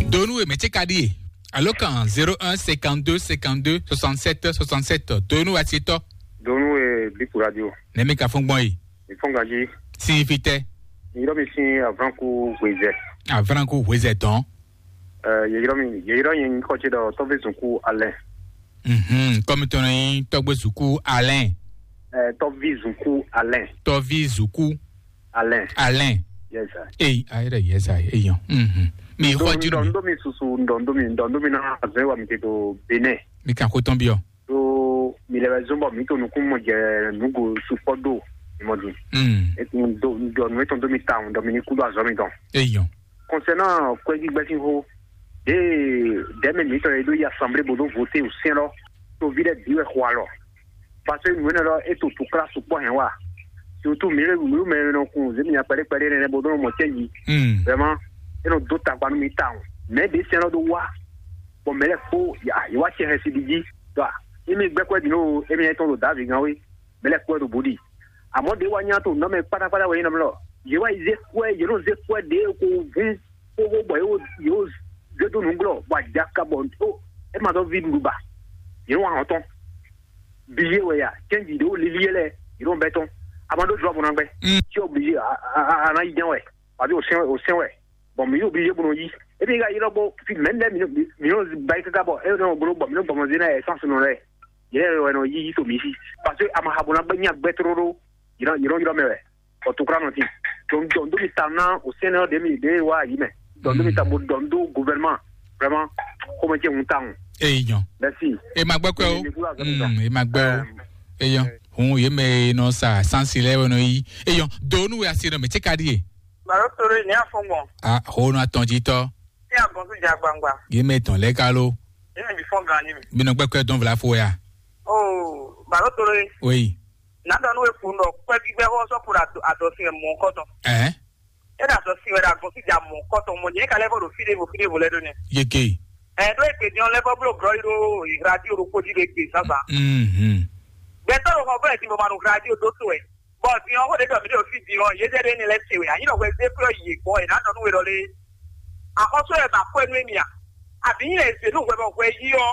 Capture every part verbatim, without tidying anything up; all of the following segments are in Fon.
Donu e mɛ ce ka ɖi e? Alo kan zéro un cinquante-deux cinquante-deux soixante-sept soixante-sept. Donu e asitɔ. Donu e Biku Radio. Nɛmi ka fɔn gbɔn e? Ifɔn gaji. Signifie tɛ? Yɔrɔ mi sin Avranku Wezɛ. Avranku Wezɛ tɔn. Yeyɔrɔ mi yeyɔrɔ yẹn nyí kɔtí ɖɔ tɔ́ví zunku alɛ. Mhm, kɔmi tɔn yín tɔgbe zuku Alain. Tɔ́ví zunku alɛ. Tɔvi zuku Alɛ. Alain. Yes sir. Eyi ayɛrɛ yɛza eyan. Mhm. Mi xɔ jinu mi. Ŋdɔ mi susu ŋdɔ ŋdɔ mi ŋdɔ ŋdɔ mi na azɔn wa mi te to Benin. Mi kan ko tɔn biɔ. Ɖó mi lɛ wɛ zɔn bɔ mi to nukún mɔ jɛ nugo sukpɔ ɖo mi mɔ din. Mm. Etun do ŋdɔ nu etɔn do mi ta ŋdɔ mi ni kú ɖo azɔ mi tɔn. Eyan. Concernant kwɛji gbɛsin xo, ɖe dɛmɛ mi tɔn ye ɖo yi assemblée bo do voté o sɛn lɔ, to vi ɖe bi wɛ xɔ alɔ. Parce que nǔ énɛ́ lɔ é to tukla sukpɔ hɛn wa. Surtout mi lɛ mi mɛ nɔ kun zé mi nya kpɛɖé kpɛɖé nɛnɛ bo ɖo mɔ cɛnji. Mm. Vraiment, é nɔ dó tagba nú mi tawun. Mɛ ɖě sɛn lɔ ɖó wá. Bɔ mɛ lɛ kpó yě wá cɛ hɛn si ɖi jí. Ɖɔ émi gbɛ́ kwɛ́ ɖi nú émi nyɛ tɔn ɖo Davi gán wé. Mɛ lɛ kpó wɛ ɖo bǔ ɖi. Àmọ́ ɖě wá nyá to nɔ́ mɛ kpátákpátá wɛ nyí nɔ mlɔ. Yě wá yi zé kwɛ́ yě nɔ zé kwɛ́ ɖě ko hún xóxó bɔ yě wo yě wo zé dó nǔglɔ́ bɔ ajaka bɔ ó é ma dɔ́ ví ɖuɖu ba. Yě nɔ wá hɔn tɔn. Billet wɛ ya, cɛnji ɖe wo lili yɛ lɛ, yɛ ɖo bɛ tɔn. A ma ɖo jɔ bɔ na gbɛ. Mm. Tí o billet a a a na yi jɛn wɛ, abi o sɛn o sɛn wɛ. Bɔn mi yi o billet bɔ nɔ yi. E bi ka yi lɔ bɔ fi mɛ lɛ mi mi nɔ ba yi kaka bɔ e nɔ bolo bɔ mi nɔ gbɔmɔ zina essence nɔ lɛ. Yɛ wɛ nɔ yi yi to mi si. Parce que a ma ha bɔ na gbɛ nya gbɛ tlolo. Yɛ nɔ yɛ nɔ yɛ nɔ mɛ wɛ. Ɔ tukla nɔ ti. Donc donc mi ta na o sɛn nɔ de mi de wa yi mɛ. Donc mi ta bo donc gouvernement vraiment. Comment tu on tang. Eyi nyɔ. Merci. E ma gbɛ kwɛ o. Mm, e ma gbɛ o. Eyɔ, hun ye mɛ nɔ sa sansi lɛ wɛ nɔ yi. Eyɔ, donu wɛ asi nɔ mɛ tse ka di ye. Baro toro ni afɔngbɔn. A ho nɔ atɔn ji tɔ. Ti agbɔnsu ja gbangba. Ye mɛ tɔn lɛ ka lo. Ye mɛ bi fɔn gan ni mi. Bi nɔ gbɛkɛ dɔn vla fo ya. Oh, baro toro. Oui. Na dɔn nu ekun dɔ kpɛ gbígbɛ xɔ sɔ kura adɔ si mɔ kɔtɔ. Ɛɛ. E da sɔ si wɛ da gbɔn si ja mɔ kɔtɔ mɔ nyɛ ka lɛ fɔ do fi de vo fi de vo lɛ do nɛ. Yeke. Ɛ do egbe diɔn lɛ fɔ blo grɔ yi do radio do kpodi do egbe sasa. Mhm. Gbɛtɔ do xɔ bɔ ɛ ti bɔ ma do radio do to ɛ. Bɔ diɔn ko de dɔ mi do fi diɔn ye jɛ de ni lɛ se wɛ anyi dɔ wɛ de kplɔ yi gbɔ ɛ na dɔ nu wɛ dɔ le. Akɔsɔ ɛ ba kɔ ɛ nu emi a. Abi nyi ɛ se nu wɛ bɔ wɛ yi ɔ.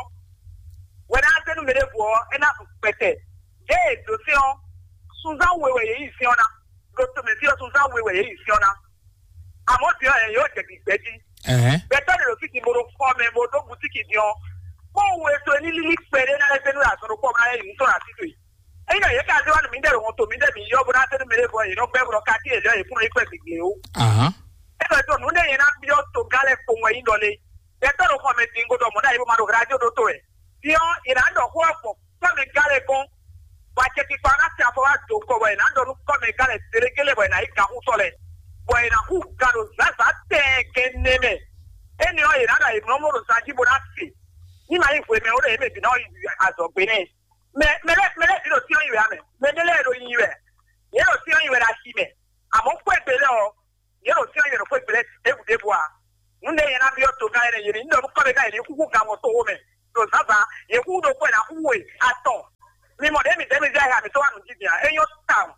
Wɛ na se nu mɛ de vo ɔ ɛ na su kpɛtɛ. Ye do se ɔ. Sunzan wɛ wɛ ye yi se ɔ na. Ɖo tomɛ fí ɔ́, sunzán we wɛ yě yi fyɔ́ ná. Amɔ̌ din ɔ́, yě yǒ jɛ gbǐgbɛ́ jí. Ɛhɛn. Gbɛtɔ́ ɖě ɖo fí din bó ɖo fɔ́ mɛ, bó dó bǔtíkì din ɔ́, kpɔ́n we to ní lílí kpɛɖé ná lɛ́ zé nú azɔn ɖokpó ɔ́ ná lɛ́ yi nǔ tɔn ɖo así towe. Ényí yě ka zé wá nǔ mǐdɛɛ ɖo hɔn to mǐdɛɛ mǐ yɔ bó ná zé nú mɛ ɖěvo ɔ́, yě nɔ gbɛ́ bó nɔ ka tín yě lɛ́ yě kún nɔ yi kpɛ́ gbǐgbli ó. Ahán. É ɖɔ tó nǔ ɖé yě ná byɔ́ togán lɛ́ɛ kpowun wɛ nyí ɖɔ lé. Gbɛtɔ́ ɖo xɔ mɛ din godɔ mɔ̌ ɖ'ayǐ bó ma ɖo hla jó ɖó to wɛ. Din ɔ́, yě ná ɖɔ xó ɔ́ gbɔn kɔ́mɛgán lɛ́ɛ gɔ́n, bɔ acɛkpikpa ɔ́ ná tɛ afɔ wá do kɔ bɔ è nǎ ɖɔ nú kɔ́mɛgán lɛ́ɛ zéɖégelé bɔ è nǎ yi gǎnxútɔ́ lɛ́ɛ, bɔ è nǎ hu gan ɖo zǎnzǎn tɛɛgɛn nɛ mɛ. Énɛ́ ɔ́, è nǎ ɖɔ ayǐmlɔ́mlɔ́ ɖo zan jí bó ná se. Ní ma nyí hwemɛ ó ɖɔ yě mɛ bǐ ná yi azɔ̌gbé nɛ́. Mɛ mɛ lɛ́ɛ mɛ lɛ́ɛ bǐ ɖo cyɔ́n nyi wɛ ǎ mɛ. Mɛ ɖé lɛ́ɛ ɖo nyi wɛ. Yě ɖo cyɔ́n nyi wɛ ɖo axi mɛ. Amɔ̌ xwé gbe lɛ́ɛ ɔ́, yě ɖo cyɔ́n nyi wɛ ɖo xwé gbe lɛ́ɛ ɖěbǔ ɖěbǔ ǎ. Nǔ ɖé nyɛ ná byɔ́ togán énɛ́ yě ní ɖɔ nú kɔ́mɛgán yě ní xúxú gan mɔ toxo mɛ ɖo zǎnzǎn, yě xúxú ɖokpó ɛ ná xúxú we atɔn. Mi mɔ ɖě mi dɛ́ mi zɛ ha mi tó wá nǔ jí din ǎ. É nyɔ́ tawun.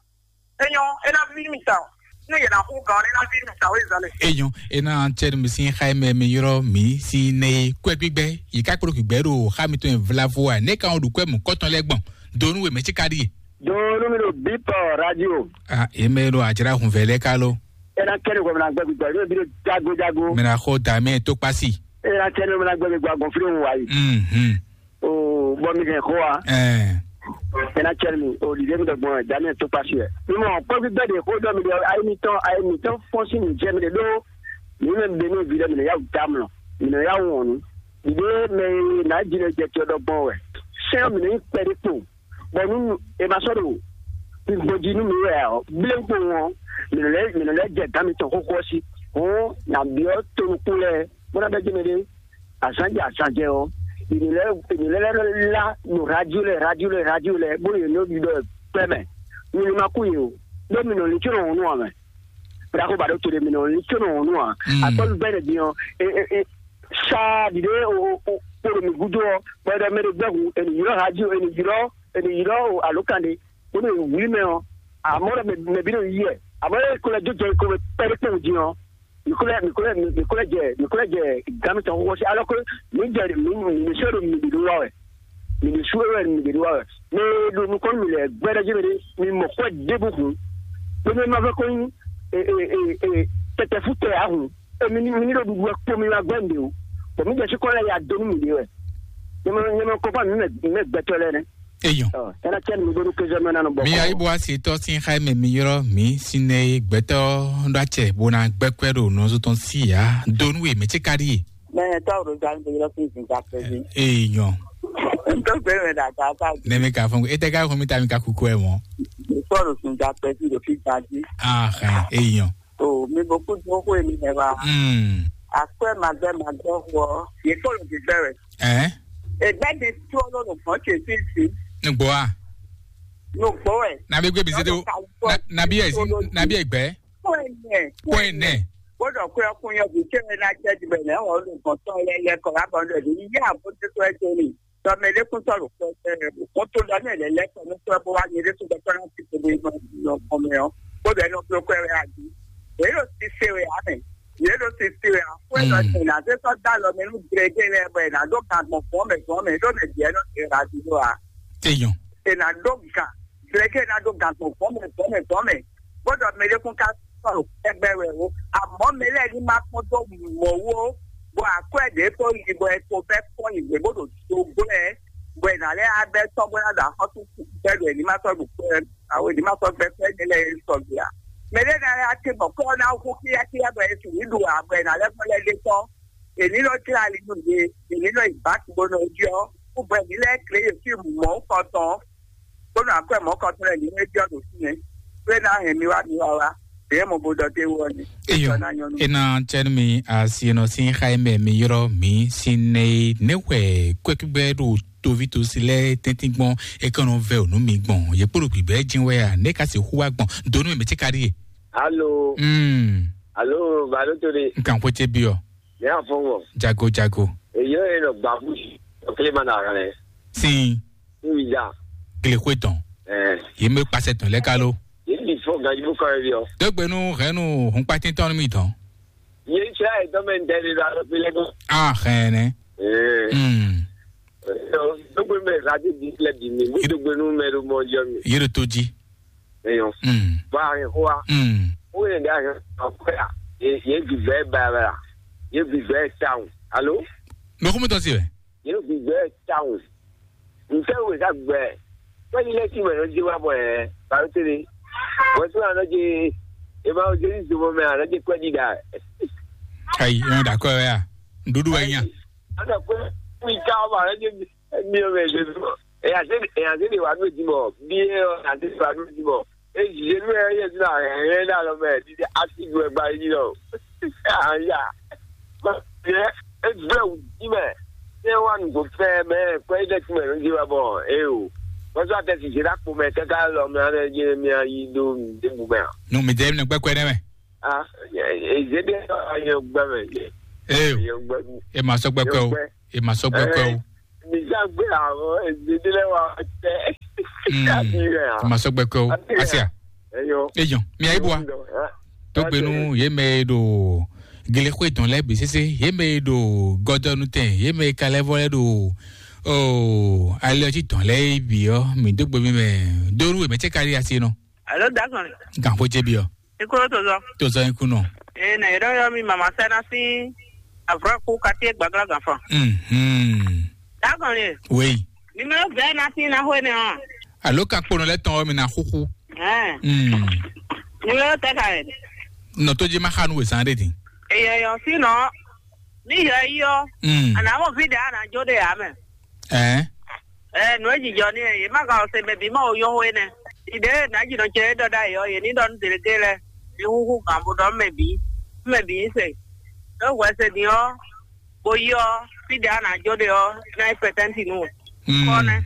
É nyɔ́, é ná víví mi tawun. Nú yě ná xúxú gan ɔ́, é ná víví mi tawun é zǎn lɛ. Enyɔ ena tsɛnu mi sin xa mɛ mi yrɔ mi si ne kwɛ gbígbɛ yi ká kplɔ gbígbɛ ɖo xa mi tɔn vlavo a ne ka wọn ɖu kwɛ mu kɔtɔn lɛ gbɔn donu we mɛ tsi ka ɖi. Donu mi ɖo bipɔ radio. Ah, eme ɖo adzra hun vɛ lɛ ka lo. Ena kɛni kɔ mina gbɛ gbígbɛ ɖo bi ɖo jago jago. Mina xɔ dame to kpasi. Ena kɛni mina gbɛ gbígbɛ agbɔn fili hun wa yi. Mhm. O bɔ mi hɛn xó wa. Ɛɛ. Ena cɛ mi o ɖiɖe mi ɖɔ gbɔn daniel tó kpasi wɛ. Mi mɔ kpɔvi bɛ de xó dɔ mi ɖɔ ayi mi tɔn ayi mi tɔn fɔn si mi jɛ mi de ɖo. Mi mɛ be ne vi ɖe mi ne yawu damlɔ mi ne yawu wɔnu. Ɖiɖe mɛ na dzi ne jɛ tiɔ ɖɔ gbɔn wɛ. Sɛn mi ne yi kpɛ ɖe kpo. Bɔ nu e ma sɔ ɖo gbɔdzi nu mi wɛ ɔ blen kpo wɔn mi ne lɛ mi ne lɛ jɛ dan mi tɔn xóxó si. Hɔn na biɔ tonukun lɛ bó ná bɛ jɛ mi ɖe. Azan jɛ azan jɛ ɔ, ènìyàn ènìyàn lɛ la nù radio lɛ radio lɛ radio lɛ bó yẹ ní ɖɔ pɛ mɛ. Nyini ma kú yìí o, bó mi nɔ ní tso nɔ wònú amɛ. Bra kó ba ɖó to ɖe mi nɔ ní tso nɔ wònú a. Akpɔlu bɛ ɖe diɔ e e e saa ɖiɖe o o o kpolo mi gudo ɔ, bɔ ɛdɔ mɛ ɖe gbɛhu ènì yìrɔ radio ènì yìrɔ ènì yìrɔ o alo kan ɖe bó mi wuli mɛ ɔ. Amɔ ɖe mɛ bi ɖo yi yɛ amɔ ɖe kó lɛ jó jɛ kó mɛ pɛ ɖe kpɛwù diɔ. Mi ko lɛ́, mi ko lɛ́, mi ko lɛ́ jɛ, mi ko lɛ́ jɛ gan mitɔn xóxó sí, alɔ ko mi jɛ mi mi mi sɔ́ ɖo mi ɖe ɖó wa wɛ. Mi ɖe sú wɛ mi ɖe ɖó wa wɛ. Mi ɖo nukɔn mi lɛ gbɛɖɛ jí mi ɖe, mi mɔ kɔ ɖe bu hun. Pe mi ma vɛ ko nyi e e e e tɛtɛ fu tɛ ahun. E mi ni mi ni ɖo ɖuɖu wɛ kpo mi ma gbɛ mi ɖe o. Bɔ mi jɛ sí kɔ lɛ ya do nu mi ɖe wɛ. Nyɛ ma nyɛ ma kɔ pa mi mɛ mi mɛ gbɛtɔ lɛ nɛ. Eyɔn. Ɔ, ɛna cɛ mi ɖo nu kezɔ mɛ na nɔ bɔ. Mi ayi bo asi tɔ sin xa mɛ mi yɔrɔ mi sine gbɛtɔ ɖo acɛ bo na gbɛkɔ ɖo nɔzɔ tɔn si ya do nu ye mɛ tse ka ɖi ye. Mɛ tɔ ro zan do yɔrɔ fi zin ka pɛ bi. Eyɔn. N tó gbé mi dàgbà ká. Ne mi ka fún e tɛ ka fún mi ta mi ka kuku ɛ mɔ. Sɔ̀rọ̀ sùn dà pẹ́ sí lòfin gbadé. Ah, eyɔn. O mi bɔ kú dúró kó èmi yẹn wa. Hmm. Akwẹ́ màgbẹ́ màgbẹ́ wọ. Yẹ kó lòdì bẹ̀rẹ̀. Ɛ. Ẹgbẹ́ mi tí ó lọ́nà kan ṣe sí sí. Nugbo a. Nugbo ẹ̀. Nabi gbé mi sí tó. Nabi ẹ̀ sí nabi ẹ̀ gbẹ́. Kó ẹ̀ nẹ̀. Kó ẹ̀ nẹ̀. Gbọ́dọ̀ kó ẹkún yẹn bí kí ẹ náà jẹ́ jù bẹ̀rẹ̀ ẹ̀ wọ́n lò kàn tán ẹ lẹ́kọ̀ọ́ lábọ̀ ẹ̀ ní yá àbójútó ẹ̀ tó ní. Tɔmɛɖékúntɔ́ ɖo kɔtɔ́ lɛ́ɛ kɔ nú tɔ́ bó wá nyɛ ɖésú gbɛtɔ́ ná ti kpo bó yi nɔ kɔn mɛ ɔ́, bó bɛ́ nɔ bló kwɛ́ wɛ adi. Yě ɖo sise wɛ ǎ mɛ. Yě ɖo sise wɛ ǎ. Xwé nɔ tɛn ná zé sɔ́ dó alɔ mɛ nú gblɛgblɛ lɛ́ɛ bɔ è nǎ dó gan gbɔn gbɔn mɛ gbɔn mɛ ɖó mɛ bǐ ɛ nɔ tɛn ɖo adi ɖó ǎ. Eyɔn. È nǎ dó gan gblɛgblɛ ná dó gan gbɔn gbɔn mɛ gbɔn mɛ gbɔn mɛ. Bó ɖɔ mɛ ɖé kún ká sɔ̀rọ̀ kpɛgbɛ wɛ o. Àmọ́ mɛ lɛ́ɛ ní má kpɔ́n dó mɔ̌ wú ó, bɔ akwɛ́ ɖě tó yi bɔ è ko bɛ́ kpɔ́n yi gbě bó ɖo dogblɛ́, bɔ è nǎ lɛ́ á bɛ́ tɔ́ bó ná ɖo axɔ́sú bɛ́ ɖo è ní má sɔ́ ɖo kpɛ́, awo è ní má sɔ́ gbɛ́ kpɛ́ ní lɛ́ɛ é sɔgbe ǎ. Mɛ ɖé ná lɛ́ á tɛ́ bɔ kɔ́ ná hú kíákíá bɔ è sixú ɖu ǎ, bɔ è nǎ lɛ́ gbɔn lɛ́ ɖe tɔ́. È ní nɔ jlá ali nú yě, è ní nɔ yi bǎki bó nɔ jí ɔ́, kú bɔ è ní lɛ́ klé yě fí mɔ̌ kɔntɔn. Bónú akwɛ́ mɔ̌kɔtɔn lɛ́ɛ ní é byɔ́ ɖo fínɛ́, ɖó é ná hɛn mi wá mi wá wá, ɖě mɔ bo ɖɔ dó é wú ɔ́ nɛ. Eyɔ, ena cɛnu mi asi nɔ sin xa mɛ mi yrɔ mi sin ne ne wɛ kwɛkugbe ɖo tovi tosi lɛ tɛntin gbɔn e kɔnɔ vɛ o nu mi gbɔn ye kpolo gbigbe jin wɛ a ne ka se hu wa gbɔn donu mi ti ka di ye. Alo, mm, alo, balo to de. Nkan ko ce bi o. Ne afɔwɔ. Jago jago. Eyo e nɔ gbafu o kle ma na rɛ. Sin. Ŋuiza. Glexwe tɔn. Ɛɛ. Ye me kpasɛ tɔn lɛ kalo. Ye ni fɔ gajibu kan yɛ biɔ. Dogbe nu hɛnu hun kpatin tɔn mi tɔn. Ye sɛ etɔn mɛ ntɛ de do alo fi lɛ ko. Ah, hɛnɛ. Ɛɛ. Hmm. Dogbe mɛ radio di lɛ di mi. Dogbe nu mɛ do mɔ jɔ mi. Ye do to ji. Eyɔn. Hmm. Ba ye hoa. Hmm. O ye da ye ko ya. Ye ye bi bɛ ba ba. Ye bi bɛ town. Alo? No ko mo tɔn si wɛ. Yě ɖo gbigbɛ tawun. Ntɛ́ wǔ è ká gbɛ? Kpɛ́ɖi lɛ́ɛ sí mɛ nɔ jɛ wá bɔ ɛ bǎ tɛ́ ní. Wɛn tó anɔ jɛ e ma jɛ ní zomɔ mɛ anɔ jɛ kpɛ́ɖi ɖa. Ayi, ɛ ɖa kɔ ya. Ɖuɖu wɛ nya. Anɔ kpɛ kpí ká ɔmɔ anɔ jɛ mi ɔmɛ jɛ zomɔ. Ɛ yà zé ɛ yà zé de wà nú èdìmɔ. Bí ɛ ɔ yà zé de wà nú èdìmọ. Ezi yenu ɛ yɛ zina hɛn na lɔ mɛ didi asi du ɛgba yi lɔ. Aya. Yɛ egblɛ wù di mɛ. Yɛ wa nugbo fɛ mɛ kɔ yi dɛ ti mɛ nu di wa bɔ e o. Kɔsɔ atɛ si jira kpo mɛ kaka lɔ mɛ anɛ je mi ayi do de bu mɛ. Nu mi de mi gbɛ kwɛ ne mɛ. Ah, eze de ayi gbɛ mɛ. Ee o. E ma sɔ gbɛ kwɛ o. E ma sɔ gbɛ kwɛ o. Nìjà gbé àwọn èdèdè lẹ́wà tẹ́. Mm. Àbí rẹ̀ à. Masɔ gbɛkɔ. Àbí rẹ̀ à. Asia. Eyɔ. Eyɔ. Mi ayi bua. Tó gbenu ye mɛ ɖo gele xwe tɔn lɛ bi sese ye mɛ ɖo gɔdɔnu tɛ ye mɛ kalɛ vɔ lɛ ɖo o alɛ ɔtí tɔn lɛ bi ɔ mi dó gbe mi mɛ dóru mɛ tse kari asi nɔ. Alo, dagɔn. Gan xo jɛ bi ɔ. Ikolo tozɔ. Tozɔ ikunɔ. Ee, na yɔrɔ yɔ mi mama sɛ na si avra ku kati gbagla ganfan. Mhm. Dagɔn le. Oui. Numéro vingt na si na hwe ne ɔ. Alo ka kponɔ lɛ tɔn mi na xuxu. Ɛɛ. Mm. Numéro tɛ ka yɛ. Nɔ to ji ma xa nu we san de din. Eyɔ yɔ si nɔ. Mi yɔ yi ɔ. Mm. Ana mo vi de ana jo de ya mɛ. Ɛɛ. Ɛɛ, nǔ e jijɔ n'i e, yě ma ka ɔ se mɛ bǐ ma wo yɔ́hɔn énɛ́. Ɖiɖe e nǎ jǐnɔ ce e ɖɔ ɖ'ayǐ ɔ́, yě ní ɖɔ nú Deleke lɛ́ɛ, mi húhú gǎn bó ɖɔ nú mɛ bǐ, nú mɛ bǐ ní se. Ɖó hwɛ se din ɔ́, bó yi ɔ́, fí ɖě a nǎ jó ɖe ɔ́, é ná nyí pɛtɛ́nti nú we. Mm. Kɔ́ nɛ́.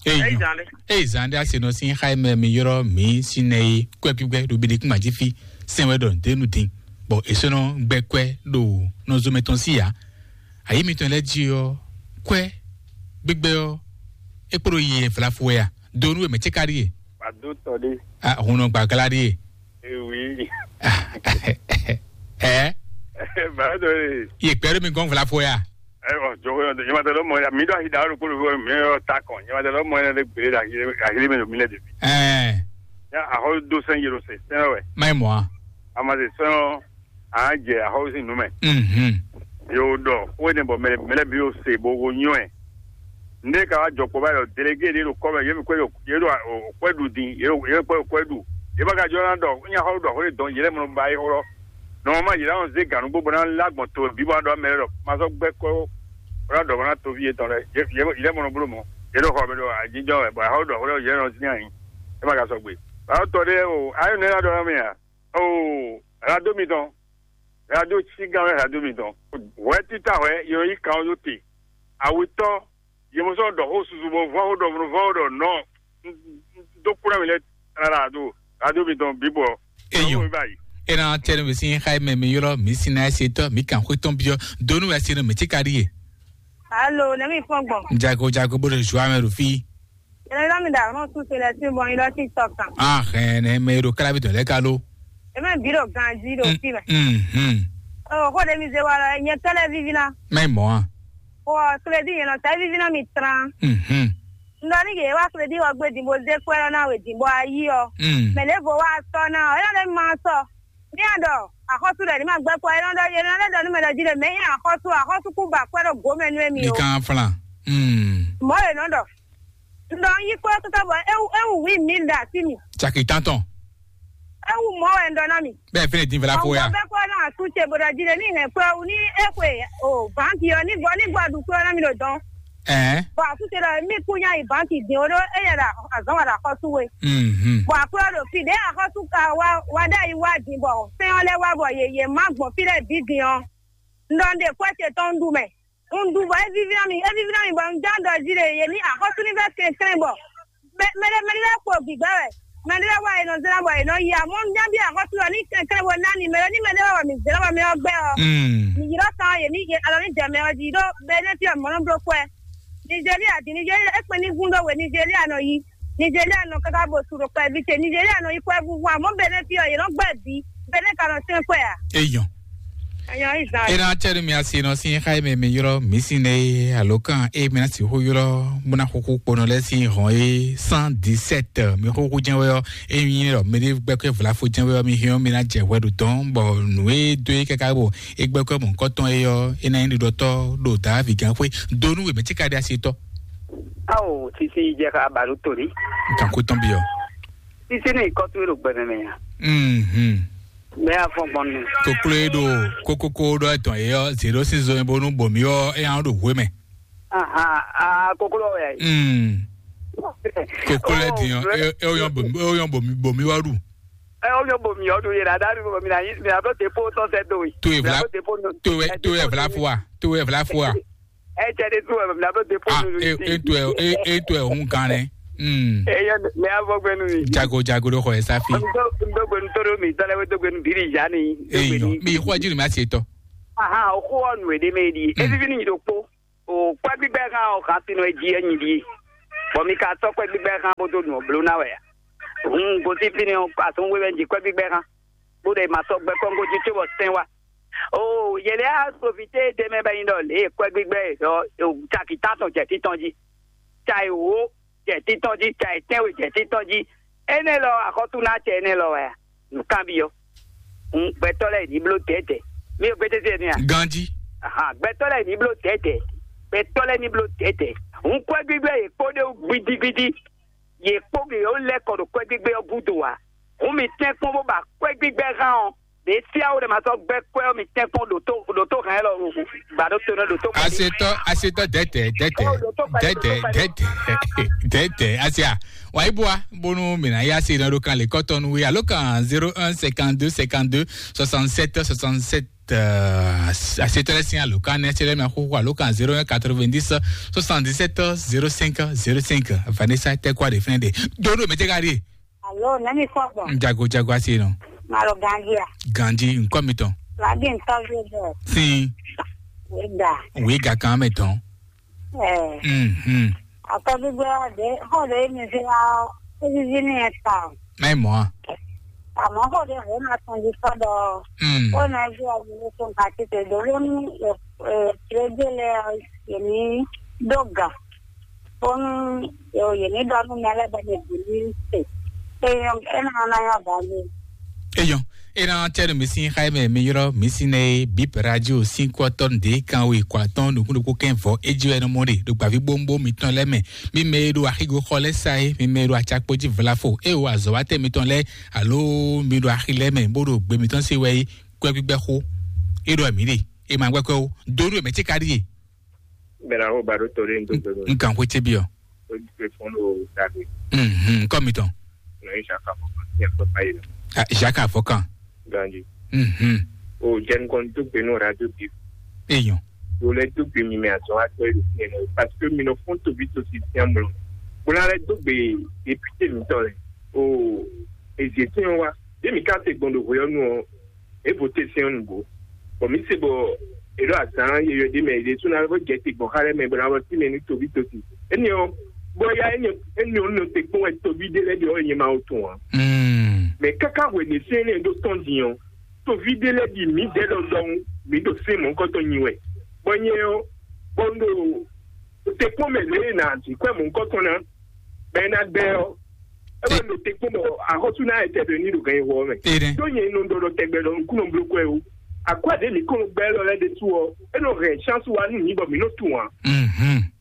Eyi zan ɖe. Eyi zan ɖe asi nɔ sin xa mɛ mi yɔrɔ mi si nɛ yi kwɛ gbígbɛ ɖo biɖe kún ma jí fi sɛn wɛ ɖɔ denu din bɔ èsɔnɔ gbɛ kwɛ ɖo nɔzɔmɛ tɔn si ya. Ayi mitɔn lɛ ji ɔ kwɛ gbígbɛ ɔ ekpɔɖo yi eflafu wɛ ya donu wɛ mɛ tse ka ɖi ye. Wàdó tɔ ɖé. Ah, hun nɔ gbàgbla ɖi ye. Ewi. Ah, ɛ. Bàbá tó yìí. Yè pɛ́lú mi gɔ́n fla fo ya. Ɛ ɔ jɔ yɔ yɛ ma tɛ lɔ mɔ ya mi dɔ ayi da ɔlu kolo fo mi yɔ ta kɔn yɛ ma tɛ lɔ mɔ yɛ lɛ gbele la ayi ayi mi lo mi lɛ de. Ɛɛ. Ya ahɔ do sɛn yero se sɛn wɛ. Mayi mɔ a. A ma se sɛn ɔ a jɛ ahɔ si nu mɛ. Mhm. Yo dɔ o ne bɔ mɛ mɛ bi o se bo wo nyɔ ɛ. Nde ka wá jɔ kpɔ báyìí ɔ, délégué ɖé ɖo kɔ́ mɛ, yě mi kwɛ́ ɖo yě ɖo o kwɛ́ ɖu din, yě ɖo yě kwɛ́ o kwɛ́ ɖu. Yě ma ka jɔ ná ɖɔ nya xɔ ɖɔ xó ɖe dɔn yě lɛ́ mɔ ba yí xɔ lɔ. Nɔmɔma yě ná zé gǎnúgbó bó ná lá gbɔn to bí bó ná ɖɔ mɛ lɛ́ ɖɔ ma sɔ́ gbɛ́ kɔ́ bó ná ɖɔ bó ná toví yětɔn lɛ́ɛ. Yě yě lɛ́ mɔ nɔ bló mɔ. Yě ɖo xɔ mɛ ɖo ajínjɔ́n wɛ, bɔ xɔ ɖɔ xó ɖɔ yě nɔ zín ayǐ. É ma ka sɔgbe. Bǎ tɔ ɖé o, ayé nɛ́ ná ɖɔ ná mì a? O, rado mitɔn, rado cí gán wɛ rado mitɔn. Hwɛ títà hwɛ, yě nɔ yí kan ɔ́ ɖó te. Awetɔ́, yě mɔ sɔ́ ɖɔ xó susu bɔ vɔ́ xó ɖɔ vɔ́ xó ɖɔ nɔ. Dó kúrò mi lɛ rárá do rado mitɔn bíbɔ. Eyɔn. Báyìí. Ena tɛnu mi sin xa mɛ mi yɔrɔ mi sin na se tɔ mi kan xwe tɔn biɔ donu wɛ sin mi ti ka di ye. Alo, ne mi fɔn gbɔn. Jago jago bo de joie mɛ do fi. Ele la mi da ron su se le si bon ilo si tokan. Ah, ne me do kala bi to le kalo. E me biro ganji do fi me. Mhm. Oh, ko de mi ze wala nye tele vivi na. Mai mo a. Ko kredi ye no sai vivi na mi tran. Mhm. Ndɔ ni ye wa kredi wa gbe dimbo ze kwɛ na we dimbo ayi o. Mm. Me le vo wa so na o, e na le ma so. Ní àdɔ àkọ́sù rẹ̀ ní máa gbẹ́ kɔ ẹ nɔ ɖɔ yẹn nɔ lɛ ɖɔ nú mɛ ɖɔ jí ɖe mɛ nyɛ àkọ́sù àkọ́sù kú bà kpẹ́ ɖɔ gǒmɛ nú émi o. Nìkan flan. Hmm. Mɔ̌ è nɔ ɖɔ. Ŋdɔ yí kpɔ́ kúkú bɔ é wú é wú wí mí ɖa sí mi. Caki tantɔn. É wú mɔ̌ wɛ ŋdɔ ná mi. Bẹ́ẹ̀ fẹ́rẹ̀ dín fẹ́lá fó ya. Ọ̀gbọ́n bẹ́ẹ̀ kọ́ náà tún ṣe bọ̀dọ̀ jí lé ní ìhẹ̀n pé o ní é pé o báńkì ọ ní gbọ́ ní gbọ́dún pé ọ ná mi lò dán. Ɛɛ. Bɔn àtúnṣe lɔ mí kú nyá ìbánkì dín ó ɖó éyɛ ɖo azɔn wà ɖo akɔsú we. Mhm. Bɔn àkúrò ɖo fi ɖé akɔsú ka wá wá ɖe ayi wá dín bɔ sɛn ɔ lɛ wá bɔ yeye má gbɔn fi lɛ bí dín ɔ. Ndɔ ndé kwɛ ce tɔn ɖu mɛ. Un ɖu bɔ é víví ná mi é víví ná mi bɔ un já ɖɔ jí ɖe yé ní akɔsú ní fɛ kɛnklɛn bɔ mɛ mɛ ɖé mɛ ɖé lɛ kpo gbǐgbɛ wɛ. Mɛ ɖé lɛ wá yé nɔ zlá bɔ yé nɔ yi amɔ un já bí akɔsú lɔ ní kɛnklɛn bɔ ná ni mɛ ɖé ní mɛ ɖé wá wɔ mí zlá bɔ mɛ ɔ gbɛ ɔ. Mm. Mi yi ɖɔ kan yé ní yé alɔ ní jɛ mɛ ɔ jí ɖó bɛ ní fi ɔ mɔ nɔ bló kwɛ. Nigeria di Nigeria ekpe ní gún ɖó we Nigeria nɔ yi. Nigeria nɔ kaka bo su ɖo kpɛví ce Nigeria nɔ yi kwɛ vuvu amɔ bɛ ní fi ɔ yé nɔ gbɛ bí bɛ ní ka nɔ sɛn kwɛ a. Eyɔn. Ayɔ izan. Ena tɛnu mi asi nɔ sin xa mɛ mi yɔrɔ mi sin ne alo kan e mi na si ho yɔrɔ muna xuxu kponɔ lɛ sin hɔn e cent dix-sept mi xuxu jɛn wɛ ɔ e mi nyɛ ɔ mi de gbɛkɛ vlafo jɛn wɛ ɔ mi hiɔ mi na jɛ hwɛ ɖo tɔn bɔ nu e do e kaka bɔ e gbɛkɛ mɔ nkɔtɔn e ɔ e na nyɛ ɖiɖɔtɔ ɖo da vi gan xwe do nu we mɛ ti ka de asi tɔ. Ao sisi jɛ ka ba ɖo tori. Nkan ko tɔn bi ɔ. Sisi ni kɔtu e ɖo gbɛmɛ mɛ ya. Mhm. Mɛ ya fɔ gbɔn nu. Koklo e ɖo kokoko ɖɔ etɔn e ɔ zero six zɔn bonu bomi ɔ e yan ɖo hwe mɛ. Aha, a koklo ya. Mm. Koklo e din ɔ e e o yan bomi o yan bomi bomi wa ɖu. Ɛ o yan bomi ɔ ɖu yɛ dada ɖu bomi na yi mi na ɖo te po tɔ sɛ do yi. To e vla to e to e vla fo wa to e vla fo wa. Ɛ cɛ de tu ɛ mi na ɖo te po Ah, nu e e to e e e to e hun kan ne. Mm. Ɛ yɛ mɛ ya fɔ gbɛnu mi. Jago jago ɖo xɔ ɛ safi. Ndo ndo gbɛnu to ɖo mi tɔlɛ we do gbɛnu biri ya ni. Eyo, mi xɔ jiri ma se tɔ. Aha, o xo ɔ nu e de mɛ di. Mm. E vivi ni do kpo. O kpɛ gbigbɛ kan o kan sinu e ji e nyi di. Bɔ mi ka tɔ kpɛ gbigbɛ kan bo do nu o blo na wɛ ya. Hun go si fini o asun we wɛ ji kpɛ gbigbɛ kan. Bo de ma sɔ gbɛ kɔngo ji tso bɔ sɛn wa. O yele a sovite de mɛ bɛ nyi dɔ le kpɛ gbigbɛ dɔ o caki tan tɔn jɛ titɔn ji. Ca e wo jɛ titɔn jí, ca e tɛ́nwe jɛ titɔn jí. Énɛ́ lɔ axɔ́sú ná acɛ énɛ́ lɔ wɛ a? Nǔkanbyɔ́. Gbɛtɔ́ lɛ́ɛ ní bló dɛ̌dɛ̌. Mi ò gbéjé sí ɛnɛ a? Ganjí. Ahan, gbɛtɔ́ lɛ́ɛ ní bló dɛ̌dɛ̌. Gbɛtɔ́ lɛ́ɛ ní bló dɛ̌dɛ̌. Hun kwɛ́gbígbɛ́ yě kpó ɖé wú gbidigbidi. Yě kpó gě ó lɛ́ kɔ ɖo kwɛ́gbígbɛ́ ɔ́ gúdo ǎ. Hun mi tɛ́nkpɔ́n bó ba kwɛ́gbígbɛ́ hán ɔ́, ɖě síáwó ɖé ma sɔ́ gbɛ́ kwɛ́ ɔ́ mi tɛ́nkpɔ́n ɖo tó ɖo tó hɛn élɔ́ wú. Gbǎ ɖó to nɔ ɖo tó gbɛ́. Asetɔ asetɔ dɛtɛ dɛtɛ dɛtɛ dɛtɛ dɛtɛ asia. Wa iboa bonu mina ya se na ɖo kan le kɔtɔnu we alo kan zéro un cinquante-deux cinquante-deux soixante-sept soixante-sept. Asetɔ lɛ sin alo kan ne se lɛ mi axoxo alo kan zéro un quatre-vingt-dix soixante-dix-sept zéro cinq zéro cinq. Vanessa tɛ kɔ de fɛn de. Dodo mɛ tɛ ka di. Alo, nani kɔbɔ. Jago jago asi nɔ. Malo gandia. Ganji nkɔ mi tɔn. Lagi ntɔvi bɛ. Sin. Wega. Wega kan mɛ tɔn. Ɛɛ. Mhm. Akɔbi gbɛ de ho de mi se la. Ebi ni eta. Mai mɔ. Àmọ́ kò dé hǒ ná tɔn jí sɔ́ ɖɔ ó ná jí ɔ́ ní tó gǎ tete dó ló ní tirégé lɛ yě ní dó gǎ bónú yě ní ɖɔ nú mɛ lɛ́ɛ bɔ mɛ bǐ ní se. É ná ná nyɔ́ gǎ ní. Eyɔn, ena tɛnu mi sin xaime mi yɔrɔ mi sin ne bip radio sin kɔtɔn de kan we kɔ atɔn nukun ɖokpó kɛn vɔ eji wɛ nɔmɔ ɖe ɖo gbavi bombo mitɔn lɛ mɛ. Mi mɛ e ɖo axigo xɔ lɛ sa e mi mɛ e ɖo atsakpo ji vlafo e o azɔwatɛ mitɔn lɛ alo mi ɖo axi lɛ mɛ bó ɖo gbe mitɔn se wɛ yi kɔɛ gbígbɛ xo. E ɖɔ mi ɖe e ma gbɛkɔ o donu e mɛ tse ka ɖi e. Bɛlɛ aho ba ɖo to ɖe ŋdo gbɛmɛ. Nkan xwe tse bi ɔ. O ɖi pe fɔn ɖo dagbe. Mhm, kɔ mitɔn. Nɔ yi saka fɔ kan tiɲɛ kpɛ pa yi lɛ. Ah, Jacques Afɔkan. Ganji. Mhm. O jɛn kɔn to gbe no radio bi. Eyɔn. O lɛ to gbe mi mɛ azɔn wa tɔ yi ɖo fiɲɛ nɔ parce que mi nɔ fɔn tobi to si tiɲɛ mlɔ. Bo na lɛ to gbe député mi tɔ lɛ. O eze tiɲɛ wa. Ye mi ka se gbɔn ɖo hweyɔnu ɔ, e vote sɛn ɔ́ nǔgbó. Bɔ mǐ se bɔ è ɖo azǎn yeyɔ́ ɖé mɛ è ɖésú ná vɔ jɛ te gbɔn xá lɛ́ɛ mɛ bɔ ná vɔ sí mɛ ní toví tosi. Énɛ́ ɔ́, bɔ ya énɛ́ énɛ́ ɔ́ nɔ te kpɔ́n wɛ toví ɖé lɛ́ɛ ɖe ɔ́ nyɛ ma wo tun ǎ. Mɛ káká hwɛ̌ ɖě sɛn énɛ́ ɖó tɔn din ɔ́, toví ɖé lɛ́ɛ ɖi mǐ dɛ́ ɖɔ ɖɔhun mǐ ɖo sɛn mɔ̌hunkɔtɔn nyi wɛ. Bɔ nyɛ ɔ́, bɔ un ɖo te kpɔ́n mɛ lě e nǎ zǐ kwɛ́ mɔ̌hunkɔtɔn ná, bɔ é ná gbɛ ɔ́, é wá ɖo te kpɔ́n bɔ axɔ́sú ná etɛ ɖo ní ɖo gan yi wɔ mɛ. Ɖó nyɛ nɔ ɖɔ ɖɔ tɛgbɛ ɖɔ nukúnnɔ bló kwɛ o. Akwɛ́ ɖě mǐ kɔn nɔ gbɛ élɔ́ lɛ́ɛ ɖésú ɔ́, é nɔ hɛn chance wá nú mǐ bɔ mǐ nɔ tunwun ǎ.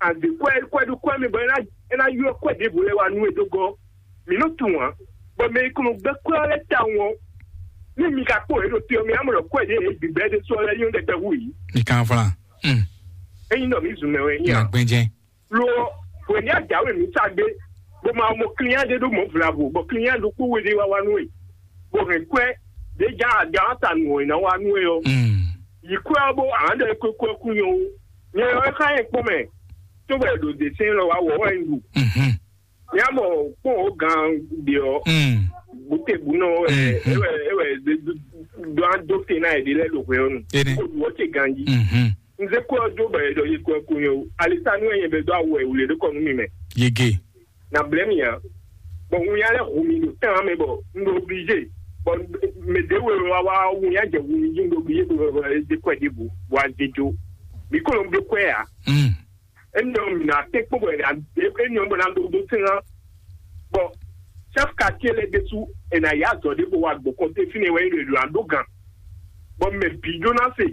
Àdě kwɛ́ kwɛ́ ɖó kwɛ́ mɛ bɔ é ná é ná ylɔ́ kwɛ́ ɖěvo lɛ́ɛ wá nú we dó gɔ́. Mǐ nɔ tunwun ǎ. Bɔ mɛ e kɔn nɔ gbɛ kwɛ́ ɔ́ lɛ́ɛ tawun ɔ́, ní mi ka kpó yě ɖo te ɔ́, mi ná mɔ ɖɔ kwɛ́ ɖě e bǐ gbɛ ɖésú ɔ́ lɛ́ɛ nyɔ́ ɖɛkpɛ hú yě. Mi kan flan. Ényí ɖɔ mǐ zun mɛ wɛ é nyí a? Gbɛnjɛ. Lo ɔ́, hwě ní ajǎwe mǐ sa gbé, bó ma mɔ klínyá ɖé ɖó mɔ̌ vlavo, bɔ klínyá ɖokpó we ɖé wá wá nú we, bó hɛn kwɛ́ ɖě já ajǎ ta nǔ ɔ́ ná wá nú we ɔ́. Yi kwɛ́ ɔ́ bó ǎ ɖɔ é kwékwɛ́ kú nyɔ ó. Nyɛ ɔ́ é xá nyɛ kpɔ́n mɛ, cóbɔ è ɖo dě sɛn lɔ wá wɔ wɛ un ɖu. Nyɛ mɔ kpɔ́n ó gan ɖe ɔ́, butebunɔ wɛ é wɛ é wɛ ɖó adó te ná è ɖe lɛ́ɛ ɖo hwɛ ɔ́ nu. Kó ɖu ɔ́ ce ganjí. Un zé kó ɔ́ dó bɔ è ɖɔ yi kɔ ko nyɛ o. Alisanu wɛ nyɛ bɛ dó awu wɛ wle ɖó kɔ nú mi mɛ. Yege. Na blɛ́ mi ǎ. Bɔ un ya lɛ́ hu mi ɖo tán mɛ bɔ un ɖo obligé. Bɔ mɛ ɖě wɛ wá wá un ya jɛ hu mi jí un ɖo obligé bɔ bɔ é dé kɔ ɛ ɖěbǔ bɔ a zé jó. Mi kó lɔ un ɖó kɔ ɛ ǎ. Émi ɔ́ mi ná tɛ́ kpó bɔ émi ɔ́ bɔ ná ɖó ɖó sɛ́n ná. Bɔ chef quartier lɛ́ɛ ɖésú è nǎ yá azɔ̌ ɖé bó wá gbɔn kɔnté fínɛ́ wɛ é ɖo è ɖo ná ɖó gan. Bɔ mɛ bǐ ɖó ná se.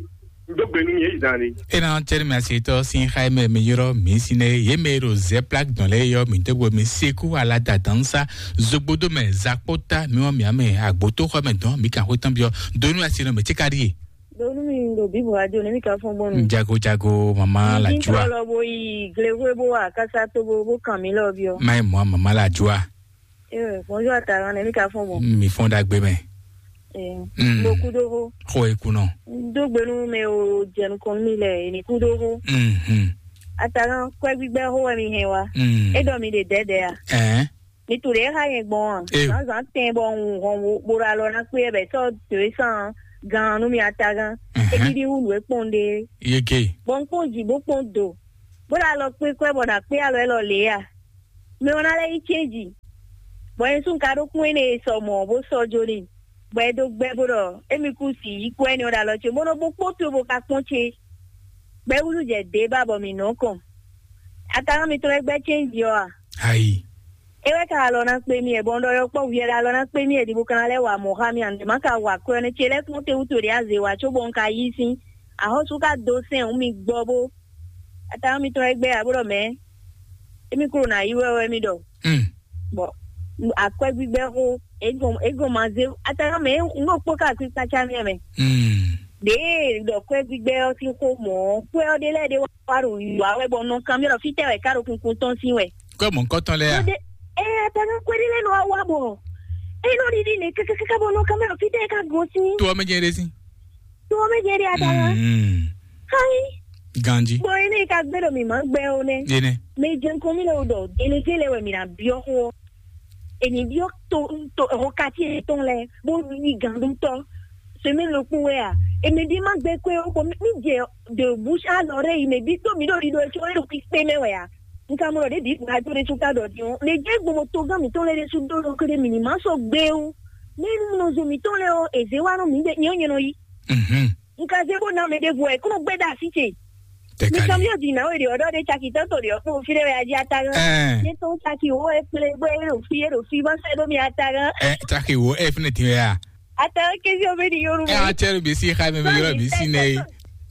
Dó gbe nú mi yě zan ni. Ena tɛri mi asitɔ sin xaimɛ mi yɔrɔ mi sine ye me ro zɛ plak dɔn lɛ yɔ mi dogbo mi seku alata dansa zogbodo mɛ zakpota mi wa mi ame agboto xɔ mɛ dɔn mi kan xo tɔn biɔ donu asinɔ mɛ tsikari ye. Donu mi ɖo bibu ajo ne mi ka fɔn gbɔn nu. Jago jago mama la jua. Lɔ bo yi glexwe bo wa kasa to bo bo kan mi lɔ biɔ. Mayi mɔ mama la jua. Ee, bonjour Ataran, ne mi ka fɔn gbɔn. Mi fɔn dagbe mɛ. Ee, Mm. Mo kudo ho. Xo e kunɔ. Do gbenu me o jɛnu kɔn mi lɛ, ni kudo ho. Mhm. Ataran, kwɛ gbígbɛ ho wɛ mi hɛn wa. Mm. E dɔ mi de dɛdɛ a? Ɛɛ. Mi tu de ha yẹn gbɔn a? Ee. Zan zan tɛn bɔ un hɔn wo bo ɖo alɔ na kpe bɛ sɔ to e san gan nu mi Ataran. Ɛhɛn. E didi wu nu e kpɔn de. Yeke. Bɔn kpɔn ji bo kpɔn do. Bo ɖo alɔ kpe kwɛ bɔ na kpe alɔ elɔ le a? Mɛ ɔ́ ná lɛ́ yí cɛ́nji, bɔ nyɛ sú un ka ɖó kún énɛ́ e sɔ mɔ̌ bó sɔ́ jó n'i, bɔ é dó gbɛ́ bó ɖɔ émí kú si yí kú ɛnɛ ɔ́ ɖo alɔ ce, bó nɔ́ bó kpó to bó ka kpɔ́n ce. Bɔ é wúzú jɛ dě ba bɔ mǐ nɔ kɔn. Atalán mitɔn lɛ́ɛ gbɛ́ cɛ́nji ɔ́ a? Ayi. É wɛ ka alɔ ná kpé mì ɛ, bɔ un ɖɔ yɔkpɔ́vú yɛ ɖo alɔ ná kpé mì ɛ, ɖi bó ka ná lɛ́ wa mɔ̌ xá mì a? Nǔɖé má ka wa kwɛ́ ɔ́ nɛ́ ce lɛ́ɛ kpɔ́n te wútu ɖě azě wa, cóbɔ un ka yí sín. Axɔ́sú ka dó sɛn hǔn mi gbɔ bó. Atalán mitɔn lɛ́ɛ gbɛ́ ǎ bó ɖɔ mɛ̌. Émí kúrò ná yi wɛ wɛ mì ɖɔ. Bɔ akwɛ́ gbígbɛ́ xó, é gɔn é gɔn ma zé ataka mɛ un ɖo kpó ká akpí kpácá mɛ mɛ. Ɖěe ɖɔ kwɛ́ gbígbɛ́ ɔ́ sín xó mɔ̌, kwɛ́ ɔ́ ɖé lɛ́ɛ ɖé wá ɖo yǐwá wɛ bɔ nɔ kanbyɔ́ ɖɔ fítɛ́ wɛ ká ɖo kunkun tɔn sín wɛ. Kɔ́ mɔ̌ kɔ́tɔn lɛ́ɛ a? Ɛ ataka kwɛ́ ɖé lɛ́ɛ nɔ wá wá bɔ é nɔ ɖiɖi nɛ kákákáká bɔ nɔ kanbyɔ́ ɖɔ fítɛ́ ká gosín. To ɔ́ mɛ jɛ ɖé sín. To ɔ́ mɛ jɛ ɖé ataka. Xayi. Ganji. Bɔ ene ka gbé ɖo mǐ ma gbɛ o nɛ. Ene. Mɛ jɛn kɔn mi lɛ o ɖɔ délégué lɛ wɛ mǐ ná byɔ́ xó ɔ́. Èmi byɔ́ to to xɔ kati etɔn lɛ bó yí gandútɔ. Semaine ɖokpó wɛ a? Èmi ɖi ma gbɛ kɔe o bɔ mi jɛ de bouche à l'oreille mɛ bi to mi ɖo ɖiɖo etsɔ e ɖo kpikpe mɛ wɛ a? Nka mo ɖɔ ɖe bi radio ɖe tún ka ɖɔ din o. Mɛ jɛ gbɔmɔ togán mǐtɔn lɛ ɖe sú dó lɔ kele mǐ ní ma sɔ gbé o. Ní nɔ zo mǐtɔn lɛ́ɛ ɔ́, è zě wá nú mǐ ɖe nyɛ ɔ́ nyɛ nɔ yí. Mhm. Un ka zé bó ná mɛ ɖěvo ɛ kó nɔ gbɛ́ ɖa así ce. Mi Tɛkali. Sɔn mi ɔ́ di nǎ wɛ ɖe ɔ́ ɖɔ ɖe caki tɔ́ to ɖe ɔ́ kpó fí ɖé wɛ a jí ata gán. Ɛɛ. Ní tɔn caki wó e kplé gbé e ɖo fí e ɖo fí ma sɛ ɖó mi ata gán. Ɛ taki wo ɛ fínɛ ti wɛ a. Ata gán kézi ɔ́ bɛ di yɔrù Ɛ mi. Atsɛ ɖo bisi xa mɛ mi yɔrɔ bisi nɛ ye.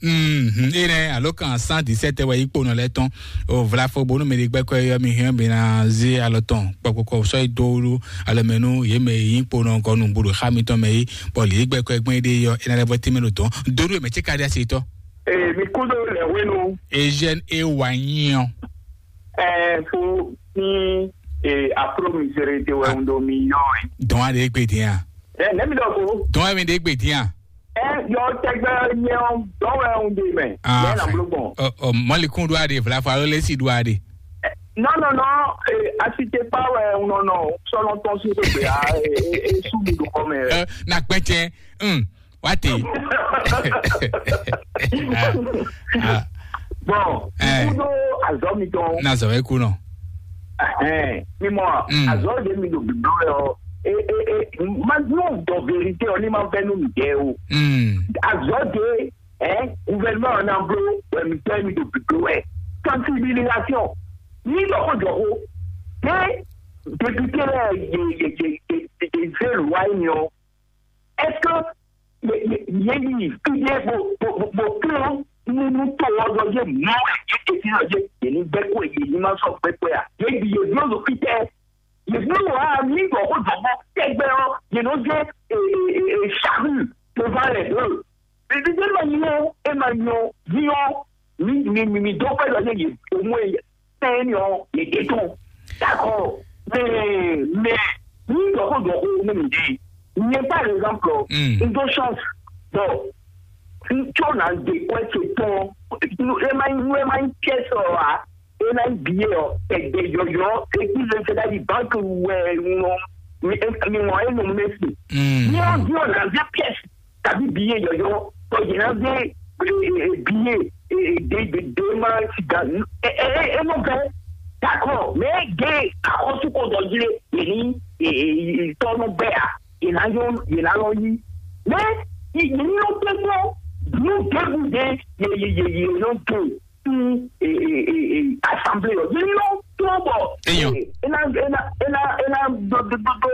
Mhm. E nɛ alo kan cent dix-sept wɛ yi kponɔ lɛ tɔn. O vlafo bonu mɛ ɖe gbɛkɔ yɔ mi hɛn bena zé alɔ tɔn kpɔkpɔkpɔ sɔ yi do wu alɔ mɛ nu ye mɛ yi kponɔ gɔnu bolo xa mi tɔn mɛ yi. Bɔ li gbɛkɔ gbɛn ɖe yɔ ena lɛ bɔ tɛmɛ lo tɔn. Dodo mɛ tse ka ɖe asi tɔ. Ee, mi kú dó lɛ wenu. Eugène e wa nyi ɔ. Ɛɛ, fo ní ee apro misere te wɛ ń do mi yɔ ɛ. Dɔn a ɖe gbe diɛ. Ɛ nɛ mi dɔ ko. Dɔn a mi ɖe gbe diɛ. Ɛ yɔ tɛgbɛ nyɛ ɔ dɔn wɛ ń de mɛ. Ah, Lɛ na fɛn. Blo gbɔn. Ɔ ɔ mɔlikun do a ɖe vlafa alo lesi do a ɖe. Non non non, ee asite pa wɛ ń nɔ nɔ sɔlɔ tɔn si ko gbe a ee ee su mi do kɔ mɛ. Ɛ na gbɛtsɛ. Hmm. Wá tè. Ah, ah. Bon, Eh. Kudo azɔ mi tɔn. Na zɔ wɛ ku nɔ. Ɛhɛn, mi mɔ Mm. Azɔ de mi do biblɔ yɔ. E e e ma nu dɔ vérité ɔ ni ma vɛ nu mi dɛ o. Mm. Azɔ de ɛ gouvernement ɔ na blo wɛ mi tɛ mi do biblɔ wɛ. Sensibilisation. Ni dɔ ko jɔ ko. Ke député lɛ ye ye ye ye ye zé loi yi ni ɔ. Est-ce que yě yí fídé bó bó bó bó plɔ́n nú nú tó ɔ́ ɖɔ yé mɔ wɛ yé tètè ɖɔ yé yě ní gbɛ́ kó yě ní ma sɔ́ gbɛ́ kó ya? Yě ɖi yě bló ɖo fítɛ́. Yě bló wǎ mí ɖɔ xó dɔ̌gbɔ́ tɛgbɛ ɔ́, yě nɔ zé e e e e charrue devant les deux. Ɖiɖiɖe ma nyɔ é ma nyɔ nyɔ mi mi mi mi dó pé ɖɔ yé yě omú é tɛ́n nyɔ yě dé tɔn. D'accord. Mais mais mi ɖɔ xó ɖɔ xó nú mi ɖi. Nyɛ par exemple, Mm. Un dó chance. Bon, n tsó na de kwɛ ce tɔn. Nu e ma nu e ma nyí pièce ɔ wa, e na nyí billet ɔ, ɛgbɛ yɔyɔ, e kí le se ɖa yi banque wɛ nɔ mi mi mɔ e nɔ mɛ si. Mm. Ni ɔ di ɔ na zé pièce tàbí billet yɔyɔ, tɔ yìí na zé billet de de de ma si da e e e nɔ bɛ. D'accord, mais de akɔsu ko dɔ yi le, e ni e e tɔ nɔ bɛ a. Yě ná yɔ yě ná lɔ yí. Mɛ yě yě ní lɔ kpɛ́kpɛ́ nú David ɖe yě yě yě yě lɔ tó ní assemblée ɔ́. Yě ní lɔ tó bɔ Eyɔn. Ena ena ena ena dodododo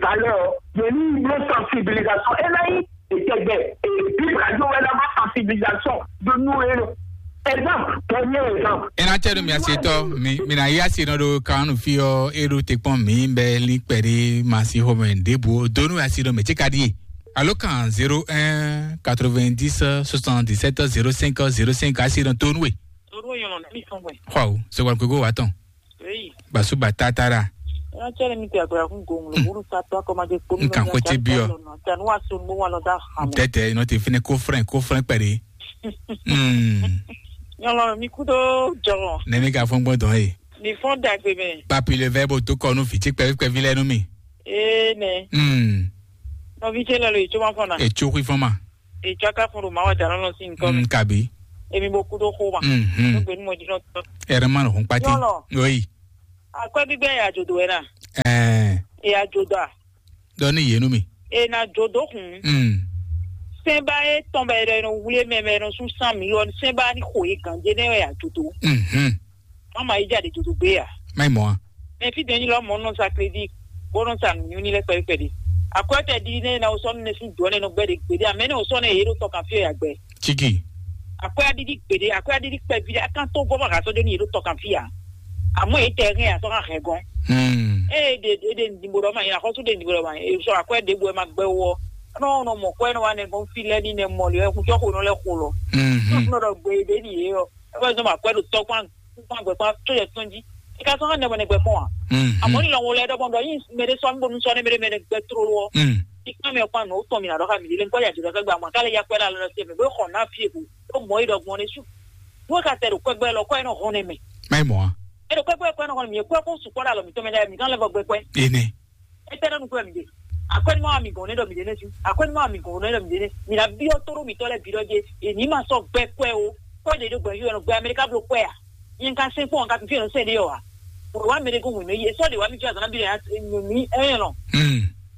valeur ɔ́. Yě ní lɔ sensibilisation ena yí etɛgbɛ bible radio wɛ na bɔ sensibilisation de nous et exemple, premier exemple. Ena tɛ do mi ase tɔ mi mi na yi ase nɔ do kanu fi ɔ eɖo te kpɔn mi bɛ li kpɛ ɖe ma si xɔmɛ ɖebu donu ase nɔ mɛ tse ka ɖie. Alo kan zéro un quatre-vingt-dix soixante-dix-sept zéro cinq zéro cinq ase nɔ tonu we. Toru yɔn na mi sɔn wɛ. Xɔ o sɔgbɔn kogo wa tɔn. Eyi. Basuba tatara. Ena tse mi te agbara kun gong lo buru sa to akɔma de kpɔmi. Nkan ko tse bi ɔ. Tanu wa so mo wa lɔ da hamu. Tɛtɛ inɔ te fine ko frɛn ko frɛn kpɛ de. Hmm. Nyɔlɔ mi kudo jɔgɔn. Ne mi ka fɔn gbɔn dɔn ye. Mi fɔn dagbe mɛ. Papi le vɛ bo to kɔ nu fi tsi kpɛvi kpɛvi lɛ nu mi. Ee nɛ. Hmm. Nɔvi tse lɛ lo yi tso ma fɔn na. Etso kui fɔn ma. Etso aka fɔn do ma wa jalɔ lɔ si nkɔ mi. Hmm, kabi. Emi bo kudo xo ma. Mhm. Nugbe nu mɔ jinɔ tɔ. Ɛrɛ ma lɔ hun kpati. Nyɔlɔ. Oyi. Akwɛ gbígbɛ ya jodo wɛ na. Ɛɛ. Ya jodo a. Dɔ ní yé nú mi. E na jodo kun. Mm. Sɛnba e tɔn bɛ yɛ nɔ wuli mɛ mɛ nɔ sun san mi yɔ sɛnba ni xo ye ganje ne ya jodo. Mhm. Mama yi ja de jodo gbe ya. Mai mɔ. Mɛ fi dɛn yi lɔ mɔ nɔ sa crédit. Bɔ nɔ sa nu ni lɛ pɛrɛ pɛrɛ. Akwɛ tɛ di ne na o sɔ ne sun jɔ ne nɔ gbɛ de gbe de amɛ ne o sɔ ne ye do tɔ kan fi ya gbɛ. Chiki. Akwɛ adidi gbe de akwɛ adidi kpɛ vi de akan to bɔ ma ka sɔ de ni ye do tɔ kan fi ya. Amɔ ye tɛ hɛn ya sɔ kan hɛn gɔn. Hmm. Ee de de de ndigbo dɔ ma ye akɔsu de ndigbo dɔ ma ye sɔ akwɛ de bo ma gbɛ wɔ. Nɔ nɔ mɔ kwɛ nɔ wa nɛ gɔn fi lɛ ni nɛ mɔ le kun tɔ ko nɔ lɛ ko lɔ. Hmm. Nɔ dɔ gbe de ni ye yɔ. E bɛ zɔn ma kwɛ do tɔ kpan kpan gbɛ kpan to yɛ tɔn ji. E ka sɔ hɛn nɛ mɔ nɛ gbɛ kpɔn wa. Hmm. Amɔ ni lɔ wo lɛ dɔ bɔ dɔ yin mɛ de sɔ mi bo nu sɔ ne mɛ de mɛ de gbɛ tro lɔ. Hmm. Ikpɔn mi kpɔn nɔ tɔn mi na dɔ ka mi le nkɔ ya jɔ ka gba mɔ k'ale ya kpɛ la lɔ se mi bo xɔ na fie ko. Ɖo mɔ yi ɖɔ gbɔn ne su. Wo ka tɛ ɖo kpɛgbɛ lɔ kɔ yi nɔ hɔn ne mɛ. Mai mɔ. E ɖo kpɛgbɛ kɔ yi nɔ hɔn mi kɔ ko su kɔ da lɔ mi tɔmɛ da mi kan lɛ vɔ gbɛ kpɛ. Ene. E tɛ ɖo nukun mi de. Akɔni ma mi gɔn ne ɖɔ mi de ne su. Akɔni ma mi gɔn ne ɖɔ mi de ne. Mi na bi ɔ to ɖo mi tɔ lɛ bi ɖɔ je. E ni ma sɔ gbɛ kpɛ o. Kɔ de ɖo gbɛ yi nɔ gbɛ Amerika blo kpɛ a. Yin ka se kpɔn ka fi fi nɔ se de yɔ wa. Wa mi de ko mu ne ye sɔ de wa mi fi azana bi de ya mi e lɔ. Hmm.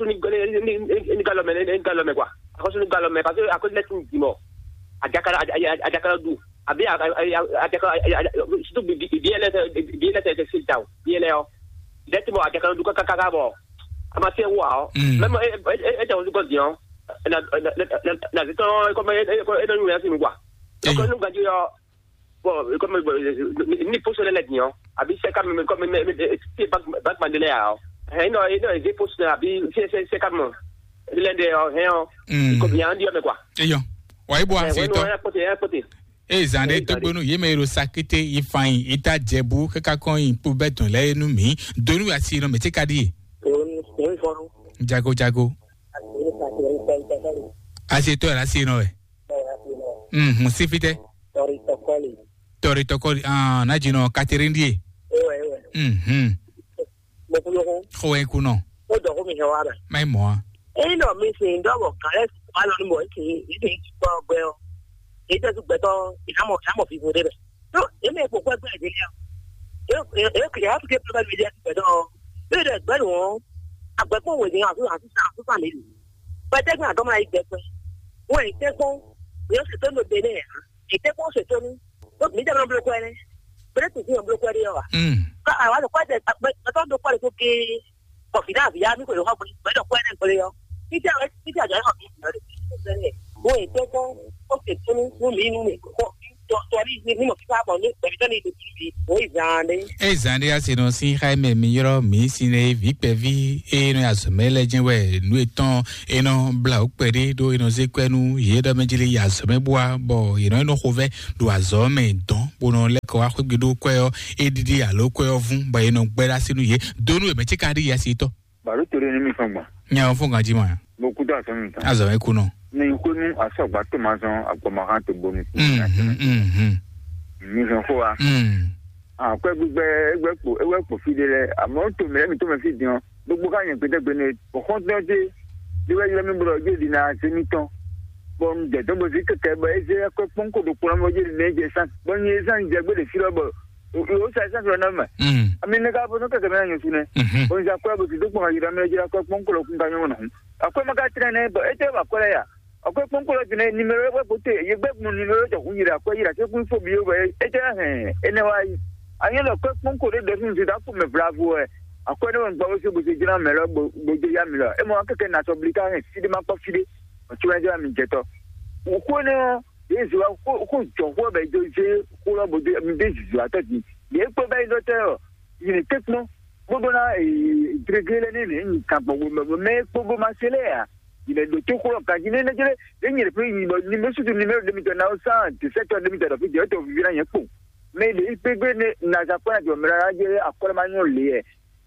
axɔ́sú ní ní ní ní galɔ mɛ ní galɔ mɛ kwa. Axɔ́sú ní galɔ mɛ parce que à cause lɛtí di mɔ. Adaka adaka du. Àbí adaka surtout bi bi bi lɛ bi lɛ tɛ se ta o bi lɛ ɔ. Lɛtí mɔ adaka du kaka kaka bɔ. A ma se wa ɔ. Même e e e tɛ o du kɔ di ɔ. Na na na na na se tɔn comme e e e e nɔ nyu ya si nu kwa. Donc nous gagnons. Bon, comme euh, ni poste lɛ din ɔ, àbí c'est quand même comme mais mais c'est pas pas mandele ya ɔ. Hein non, non, j'ai poste àbí c'est c'est c'est quand même. L'un des euh, hein. Comme il y a un dieu mais quoi. Eyɔ, wa ibo Ouais, ase non, tɔ. Un côté, un côté. Eye zan ɖe Eye zan ɖe. Togbonu ye mɛ yi ɖo Sakete yi Fanyi yi ta Jɛbu kaka kɔn yi kpo bɛ dɔn lɛ nu mi donu asi nɔ mɛ tse ka ɖi ye. Jago jago. Ase tɔ la asi nɔ wɛ. Mhm, si fitɛ. Tɔri tɔkɔli. Ah, na dzi nɔ Catherine ɖi ye. Mhm. Xɔ wɛ ku nɔ. Ma yi mɔ a. Eyi nɔ mi sin dɔ bɔ kan lɛ sùn ma lɔ ni mɔ esi yi sin kpɔ gbɛ ɔ. Yi tɛ su gbɛtɔ yi na mɔ yi na mɔ vivo ɖe bɛ. Tó yi mɛ kpokpɔ gbɛ ɖe lɛ. Yi yi yi ya fi ke pɛ mi ɖe gbɛtɔ. Yi ɖe gbɛ nu ɔ. Agbɛkpɔ wo ni asu asu asu sa mi. Gbɛtɛ gbɛ adɔmɔ yi gbɛ gbɛ. Wo yi tɛ kpɔn. Yi se to no be ne ya. Yi tɛ kpɔn se to nu. Tó mi dɛ nɔ blo kɔ ne. Bere tu fi nɔ blo kɔ de yɔ wa. Mm. Ka awa lɔ kɔ de gbɛtɔ do kɔ de ko ke. Kɔfina via mi ko yɔ hɔ bɔ gbɛtɔ kɔ ne gbɛtɔ yɔ. Títí àwọn títí àjọ yóò fi ìyàn rẹ̀ sí ìṣẹ̀lẹ̀. Wọ́n ètò kọ́ ó ṣe tó ní fún mi nínú mi kọ́ tọ́rí nínú fífá bọ̀ ní pẹ̀lú tẹ́lẹ̀ ìlú mi. Wọ́n ìgbà ni. Eye zan ɖe ase nɔ sin xa mɛ mi yrɔ mi sin ne vi kpɛvi eye nɔ azɔmɛ lɛ jɛ wɛ nu etɔn enɔ bla o kpɛ ɖe ɖo enɔ ze kɔɛ nu ye ɖɔ mɛ jeli azɔmɛ bua bɔ yenɔ enɔ xo vɛ ɖo azɔ mɛ dɔn bonɔ lɛ kɔ axwegbe ɖo kɔɛ ɔ e ɖiɖi alo kɔɛ ɔ vun bɔ yenɔ gbɛ ɖe asi nu ye donu emɛ tse ka ɖi yasi tɔ. Baro to ɖe ní mi fɔn gbɔn. Nya ɔ fún kan jí ma. Mo kú tó àsán mi tán. Azɔ ẹ kú nọ. Ní n kó ní asọ̀gbà tó máa san àgbọ̀mọ̀hán tó bomi. Mhm, mhm. Mi sàn fún wa. Mm. Àpẹ́ gbígbẹ́ ẹgbẹ́ pò ẹgbẹ́ pò fi de lẹ àmọ́ tó mìíràn mi tó mẹ́ fi dín ọ́ gbogbo ká yẹn pété gbé ní ọ̀hún tó ń dé. Bí wọ́n yọ mí bọ̀rọ̀ yóò di náà ṣe mí tán. Bọ́ ń jẹ́ tó bó sí kẹ̀kẹ́ bọ́ ẹ ṣe ẹkọ pọ́nkò tó kpọ́n mọ́ yóò di náà jẹ sàn. Bọ́ ń yẹ sàn jẹ gbé lè fi lọ́bọ̀. O sa sa sɔrɔ na ma. Mm. Ami ne ka bo no keke mɛ nyo sune. Mhm. Bon ja kwa bo ti do kpɔn yira mɛ jira kwa kpɔn kolo kun ka nyo na. Akwa ma ka tre ne bo ete ba kole ya. Akwa kpɔn kolo ti ne numéro wa bo te ye gbe kun numéro to kun yira kwa yira ke kun fo bi yo ba ete hɛn ene wa yi. Anyo lo kwa kpɔn kolo de sun ti da ku me bravo e. Akwa ne wa gba wo se bo se jira me lo bo bo je ya mi lo. E mo keke na so blika hɛn si de ma kpɔ fi de. O ti wa jira mi je to. O ko ne o Yesu wa ko ko jɔ ko bɛ jo je ko lo bo de mi de zuzu atɔ di. Ye kpo bɛ do te o. Yìnyín tɛ́kpɔ́n bó ɖó ná dréglé lɛ́ɛ ní nyi kan gbɔn gbɔn mɛ kpó bó ma se lé a. Yìnyín ɖo tó xlɔ́ ganjí ní nɛjɛlɛ ní nyí ɖe fún yìnyín bɔ ní bó sútú ní mɛ ɖe mi tɔ náwó sán dèsɛtɔ ɖe mi tɔ ɖɔ fi jɛ tó vivi ná nyɛ kpó. Mɛ ɖě yi kpégbé ne nazakpɔ́ na jɔ mɛ lɛ́ɛ jɛ akɔlɛ ma nyɔ lě yɛ.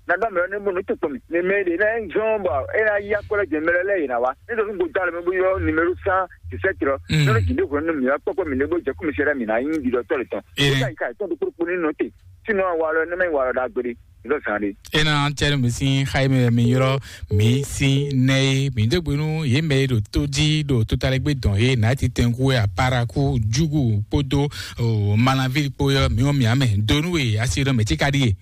Na dɔ mɛ ne mo ne tukpɔ mi. Ne mɛ ɖě na zɔn bɔ e na ya kɔlɛ jɛ mɛ lɛ́ɛ yě na wa. Ne dɔ nugbo da le mɛ bo yɔ numéro cent dix-sept lɔ. Mm. Ne jinde hwɛ ne mi ya kpɔkpɔ mi ne bo jɛ kumi sɛ mi na yi di dɔ tɔ le tɔn. Ee. Ka ka tɔn do kpokpo ni nɔ te. Sinon wa lɔ ne mɛ wa lɔ da gbede. Dɔ san de. Ena tɛnu mi sin xayi mɛ mi yɔrɔ mi sin nɛ ye mi dégbe nu ye mɛ ye ɖo tó jí ɖo totalɛgbé dɔn ye nati tɛnku ya paraku jugu kpódó o malanvi kpó yɔ mi wɔn mi amɛ donu ye asi ɖɔ mɛ tí ka ɖi ye.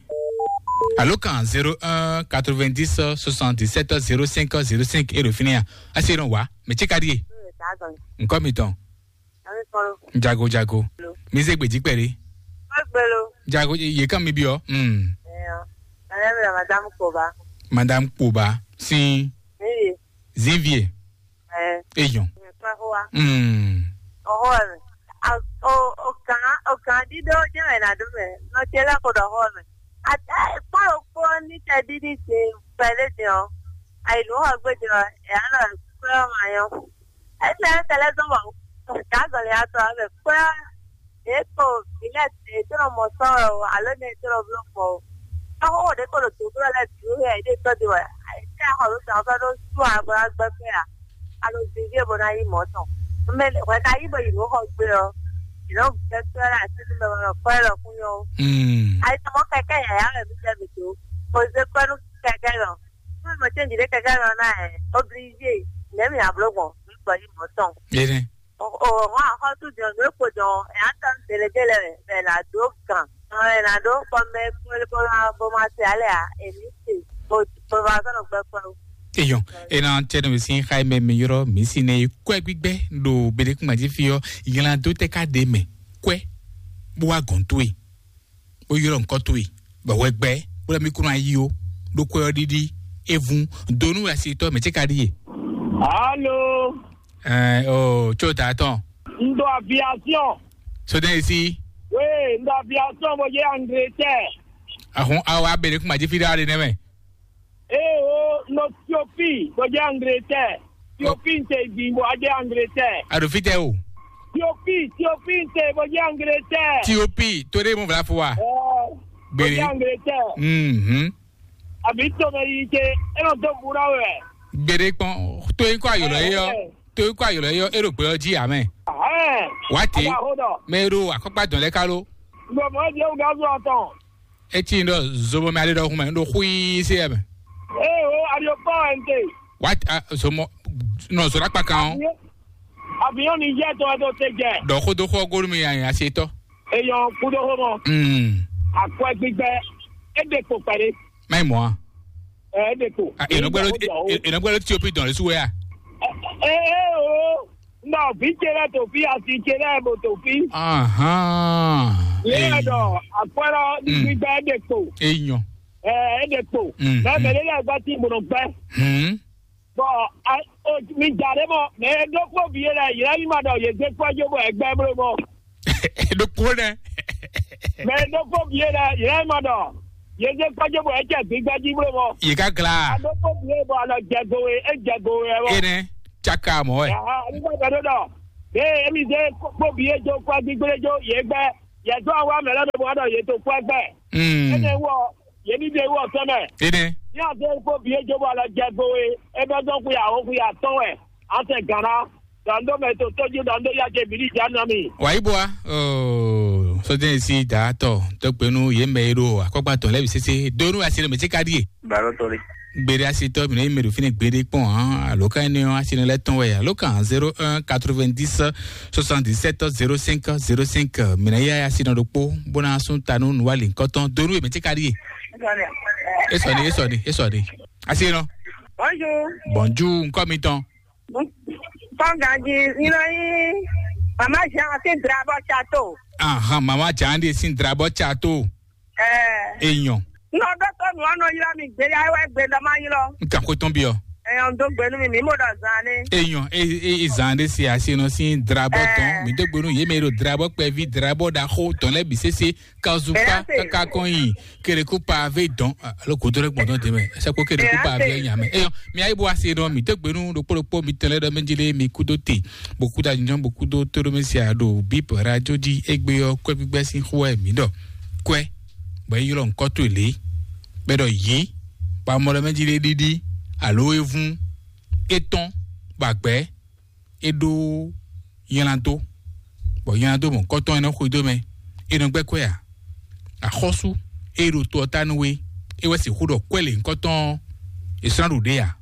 Alo kan zéro un quatre-vingt-dix soixante-dix-sept zéro cinq zéro cinq e ɖo fínɛ́ ya asi ɖɔ wa mɛ tí ka ɖi ye. Nkɔ mi tɔn. Jago jago. Mi zé gbèdí pẹ̀lú. Jago ye kan mi bi ɔ. Hmm. Madame Kpoba sin. Zivie. Eyɔn. Hmm. Ọ̀họ́ rẹ̀. O o kàn o kàn dídó jẹ́ ẹ̀ nà dó mẹ́. Nọ tse lẹ́kọ̀ọ́ dọ̀ ọ̀họ́ rẹ̀. Àti kpɔ́n òkpó ní tẹ dídí ṣe pẹ̀lú dìrọ̀. Àìlú hàn gbé dìrọ̀ ẹ̀ á lọ kúrẹ́ ọmọ yẹn. Ese ese lɛ zɔn wɔ. Gazɔli atɔ abɛ kpla. Eko ilẹ̀ tɛ tɔnɔ mɔ sɔrɔ o alo ne tɔnɔ blo kɔ o. Ɔkɔ de ko do to blo lɛ duro yɛ de tɔ de wɛ. Ese akɔ do tɔ fɛ do su agba gbɛ fɛ a. Alo zizi bo na yi mɔ tɔn. Mɛ wɛ ka yi bo yi no xɔ gbe ɔ. Ìlọ gbɛ fɛ la ti mɛ wɛ kɔ lɔ kun yɔ. Hmm. Ayi tɔmɔ kɛkɛ yaya wɛ mi jɛ mi do. Ko ze kɔ nu kɛkɛ lɔ. Fún ìmọ̀ tí èjì lé kẹ̀kẹ́ lọ náà ẹ̀ obligé lẹ́mìí àbúrò gbọ̀n nígbà yìí mọ̀ tán. Ene. Òòrùn àkọ́tún jọ ló kò jọ ẹ̀ á tán délédélé rẹ̀ bẹ̀ là dó gàn. Ẹ̀ là dó kpɔmɛ kúlé bó máa bó máa ṣe alẹ́ à èmi ṣe bó bó máa sọ̀rọ̀ gbẹ pẹ́ o. Eyɔn, ena tɛnu mi sin xayi mɛ mi yɔrɔ mi si ne kwɛ gbígbɛ ɖo beɖekúngbàjí fi ɔ yìnlá dó tɛ ká de mɛ kwɛ bó wá gɔn tó yi. Ó ylɔ́ nǔkɔ towe, bɔ hwɛ gbɛ, bó lɛ́ mì kún ná yí ó, ɖó kwɛ ɔ́ ɖíɖí, é vún, donu wɛ asi tɔ́ mɛ ce ka ɖíe. Alo. Ɛɛ o tso ta tɔn. Un ɖo aviation. Sodɛn esi. Oui, un ɖo aviation bó yé Angleterre. Ahun awa abele kuma dzi fi ɖe aɖe nɛ mɛ. Ee o, un ɖo Tiopi bó yé Angleterre. Tiopi un te gbǐn bó wá jɛ Angleterre. A ɖo fítɛ o. Tiopi, Tiopi un te bó jɛ Angleterre. Tiopi to ɖe mo vla fo wa. Ɛɛ, bó Gbére. Jɛ Angleterre. Mhm. Àbí tomɛ yi ce, é nɔ dó bu ná wɛ. Gbére kpɔn to yi kɔ ayɔlɔ yi yɔ. Ɛɛ. To yi kɔ ayɔlɔ yi yɔ e ɖo gbɛ ɔ́ jí amɛ. Ɛɛ. Wa te. Aba ho dɔ. Mɛ e ɖo akɔkpa dɔn lɛ kalo. Gbɔmɔ di ewu gazu atɔn. Eti ɖɔ zobɔ mɛ ale ɖɔ xumɛ ɖo xui se ɛmɛ. Ee o, aɖiɔkpɔ ɛnte. Wa a zomɔ nɔ zɔ ɖakpa kan o. Avion Niger tɔ ɛdɔ te jɛ. Ɖɔ xo do xɔ golu mi yan yan se tɔ. Eyɔn kudo xo mɔ. Mm. Akwɛ gbígbɛ, e de kpo kpɛɖe. Mai mɔ a. Ɛ e de kpo. Enɔgbɛlɛ enɔgbɛlɛ Ethiopie dɔn le su wɛ a. Ee o. Nɔ vi ce lɛ to fi asi ce lɛ bo to fi. Ahan. Ye lɛ dɔ akpɛrɛ gbígbɛ e de kpo. Eyɔn. Ɛ e de kpo. Mm, mɛ mɛ lɛ gbɛ ti gbɔnɔ gbɛ. Hmm. Bɔn mi da ɖe mɔ mɛ e ɖo kpo vi ye lɛ yɛlɛ yi ma dɔ ye gbɛ kpɔ jo bɔ ɛgbɛ blo mɔ. Ɖokpo nɛ. Mɛ e ɖo kpo vi ye lɛ yɛlɛ yi ma dɔ ye gbɛ kpɔ jo bɔ ɛcɛ gbígbɛ ji blo mɔ. Yi ka gla. A ɖo kpo vi ye bɔ alɔ jɛ go we e jɛ go we wɛ mɔ. Ene caka mɔ wɛ. Aha, nígbà tó dɔ. Ee, emi zé kpó bìí ejó kpó gbígbléjó yě gbɛ. Yě dó awa mɛ lɛ́ɛ ɖo bɔ ɖɔ yě tó kpó ẹgbẹ́. Mm. Énɛ́ wú ɔ, yě ní ɖe wú ɔ sɛ́ mɛ. Ene. Ní a zé kpó bìí ejó bɔ lɔ jɛ go e, é bɛ dɔn xwe àwó xwe atɔ́n wɛ. A sɛ gǎn ná. Dɔn dó mɛ tó tójú dɔn dó yá jɛ bìlí jà nɔ mi. Wàyí bua, oh, sódé sí dàátọ̀ tó gbénú yé mɛ e ɖo akɔgbatɔn lɛ́ bǐ sésé dónú asi ɖo mɛ tí ka ɖíe. Gbàdúrà tó rí. Gbére asitɔ mi ne mi ɖo fínɛ gbeɖé kpɔn hàn alo ka ne ɔ́ asi ne lɛ tɔn wɛ alo kan zéro un quatre-vingt-dix soixante-dix-sept zéro cinq zéro cinq mi ne yá asi nɔ ɖokpó bó ná sún ta nú nuwali nkɔtɔn donu èmi tí ka ɖi yé. Esɔni esɔni esɔni asi nɔ. Bonjour. Bonjour nkɔ mi tɔn. Tɔn ganji nínú yín mama Jean sí drabɔ chateau. Ahan mama Jean de sí drabɔ chateau. Eyɔn. Nɔ dɔtɔ nua nɔ ylɔ mi gbe ya wɛ gbe dɔ ma ylɔ. N kan ko tɔn bi ɔ. Èèyàn dó gbé nú mi, mǐ mɔ ɖɔ zan ní. Èèyàn e e e zan ɖé se asi nɔ sín drabɔ tɔn. Mǐ dó gbé nú yě mɛ e ɖo drabɔ kpɛví drabɔ ɖaxó tɔn lɛ́ɛ bǐ sésé. Kazupa kaka kɔn yi. Keleku pavé dɔn. Alo kudo ɖe gbɔdɔ de mɛ. Sɛkpo keleku pavé nya mɛ. Eyɔ, mi ayi bo asi nɔ, mǐ dó gbé nú ɖokpó ɖokpó mi tɛn lɛ ɖɔ mɛ jí lé mi kúdó te. Bo kúdó anyinjɔn bo kúdó tóɖómɛsia ɖo bip radio jí égbé ɔ́, kwɛ gbígbɛ sín xó wɛ mǐ ɖɔ. Kwɛ bɔ é ylɔ́ nǔkɔ́ towe lě, bɔ é ɖɔ yě, bɔ amɔ ɖɔ mɛ jí ɖé ɖíɖí, alo é vún, é tɔ́n, bɔ agbɛ̌, é ɖó nylá dó, bɔ nylá dó mɔ̌hunkɔtɔn é nɔ xwedó mɛ, é nɔ gbɛ́ kwɛ́ ǎ. Axɔ́sú e ɖo to ɔ́ ta nú we, é wɛ sixú ɖɔ kwɛ́ lěhunkɔtɔn ɔ́, è slán ɖu ɖě ǎ.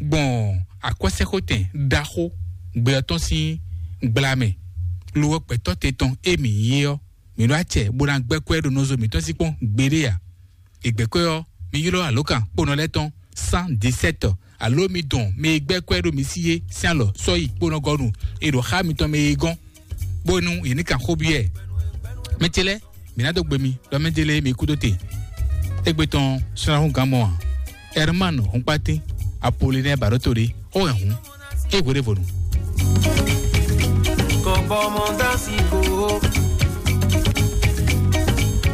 Gbɔn akwɛ́sɛ́xwetɛn ɖaxó gbɛ ɔ́ tɔn sín gbla mɛ, lo ɔ́ gbɛ̌tɔ́ te tɔn e mǐ nyí é ɔ́, mǐ ɖó acɛ bó ná gbɛ́ kwɛ́ ɖo nɔzo mǐtɔn sí kpɔ́n gbeɖé ǎ. È gbɛ̌ kwɛ́ ɔ́, mi ylɔ́ alǒkan kponɔ lɛ́ɛ tɔn cent dix-sept, alo mi dɔn mɛ e gbɛ́ kwɛ́ ɖo mi sí é sín alɔ sɔ́yi kponɔ gɔ́ nu è ɖo xá mitɔn mɛ e gɔ́n, bónú yě ní kan xó byɔ́ ɛ. Mɛ ce lɛ́ɛ, mǐ ná dó gbe mi ɖɔ mɛ ce lɛ́ɛ mi kú dó te. Égbé tɔn slánhúngán mɔ ǎ. Herman Hɔnkpátín, Apolinɛ́ɛ Baɖótoli, xó hɛn hǔn, é hweɖévonu. Kɔbɔmɔdasi ko.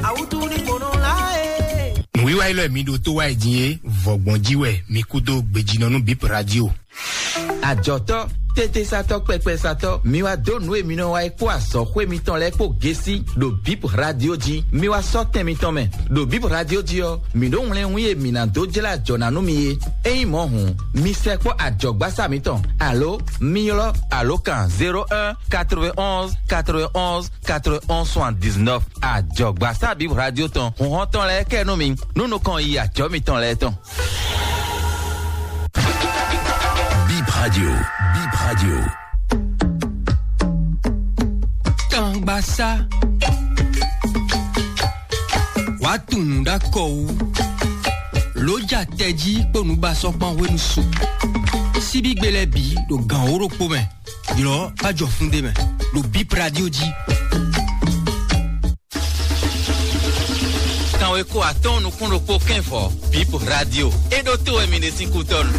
Awutu ni kpono la e. Nǔwiwa élɔ́ e mi ɖo tó wá yi din é, vɔ̌gbɔn jí wɛ mi kú dó gbejínɔ nú Bip Radio. Ajɔ̌tɔ́, tétésatɔ́, kpɛkpɛsatɔ́, mi wá dó nǔ e mi nɔ wa é kpó azɔ̌xwé mitɔn lɛ́ɛ kpó gésí ɖo Bip Radio jí. Mi wá sɔ́ tɛn mitɔn mɛ. Ɖo Bip Radio jí ɔ́, mǐ ɖó wlɛ́nwín e mǐ ná dó jlá ajɔ̌ ná nú mi é. Ényí mɔ̌ hǔn, mi sɛkpɔ́ ajɔ̌gbásá mitɔn, alo mi ylɔ́ alǒkan zéro un quatre-vingt-onze quatre-vingt-onze quatre-vingt-onze soixante-dix-neuf. Ajɔ̌gbásá Bip Radio tɔn, hǔnhɔ́n tɔn lɛ́ɛ kɛ nú mi, nú nukɔn yi ajɔ̌ mitɔn lɛ́ɛ tɔn. Bip Radio, Bip Radio. Kangbasá. Wàá tunwun ɖó akɔ wú. Lǒ ja tɛjí kpó nǔbasɔ́kpán hwenu su. Síbígbe lɛ́ɛ bǐ ɖo gǎn wó ɖokpó mɛ. Ylɔ̌ bá jɔ fún ɖé mɛ. Ɖo Bip Radio jí. Kanweko atɔ́ɔ́n nukún ɖokpó kɛ́nvɔ, Bip Radio. É ɖótó wɛ mi ɖe sín kútɔ́nu.